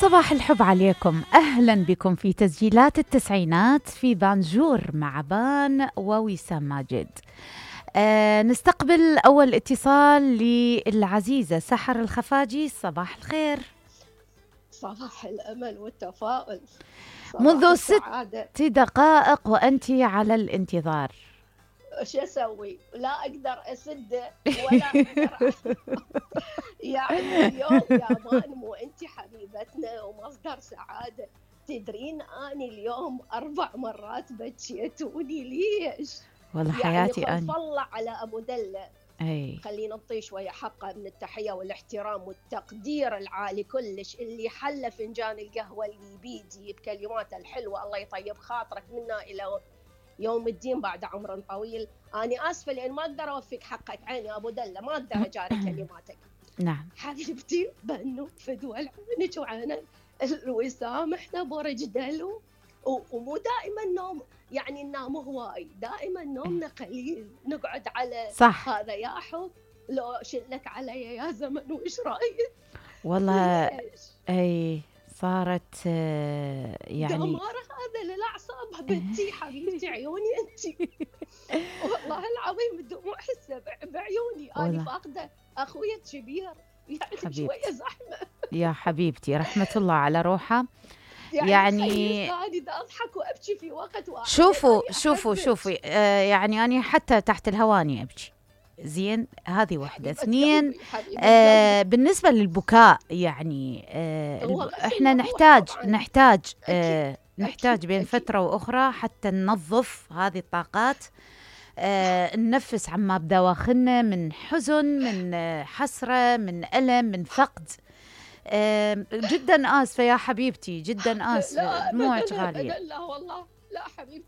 صباح الحب عليكم، أهلا بكم في تسجيلات التسعينات في بانجور مع بان ووسام ماجد. نستقبل أول اتصال للعزيزة سحر الخفاجي. صباح الخير. صباح الأمل والتفاؤل. منذ 6 دقائق وأنت على الانتظار. شو أسوي؟ لا أقدر أسده ولا أقدر يعني اليوم يا مان مو أنت حبيبتنا ومصدر سعادة. تدرين أني اليوم 4 مرات بكيتوني ليش؟ والله حياتي يعني أنا. الله على أبو دلة. أي خلينا نعطيه شوية حقه من التحية والاحترام والتقدير العالي كلش، اللي حل فنجان القهوة اللي بيدي بكلماته الحلوة. الله يطيب خاطرك منا إلى يوم الدين بعد عمر طويل. أنا آسفة لأن ما أقدر أوفيك حقك عيني أبو دلة، ما أقدر أجاري كلماتك. نعم حبيبتي بنو فدوى عينك وعين الوسام، احنا برج دلو ومو دائما نوم، يعني ننام هواي، دائما نومنا قليل، نقعد على صح. هذا يا حب لو شلك علي يا زمن وإيش رأيك؟ والله ليش؟ أي صارت يعني دمار هذا للأعصاب بنتي حبيبتي عيوني أنتي. والله العظيم الدموع حسه بعيوني. أنا فاقدة أخويا الكبير، يعني حبيبتي. شوية زحمة يا حبيبتي رحمة الله على روحه. يعني أنا أضحك وأبكي في وقت واحد. شوفوا يعني أنا حتى تحت الهواني أبكي. زين، هذه واحدة. 2 بالنسبة للبكاء يعني احنا نحتاج بين فترة وأخرى حتى ننظف هذه الطاقات، ننفس عما بدواخلنا من حزن، من حسرة، من ألم، من فقد. جدا آسفة يا حبيبتي، جدا آسفة، دموعك غالية. لا والله لا حبيبتي.